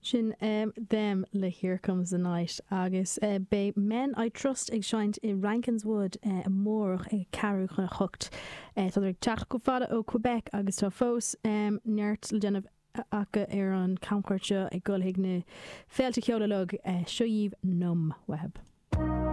Sin Them le Here Comes the Night agus beidh Men I Trust ag seinnt i Rankin's Wood amárach ag ceathrú chun a hocht. Tádar ag teacht chomh fada ó Quebec agus tá fós neart le déanamh acu ar an chamchuairt seo ag dul chuig na féilte ceoil uilig. Seo dhaoibh Numb uathu.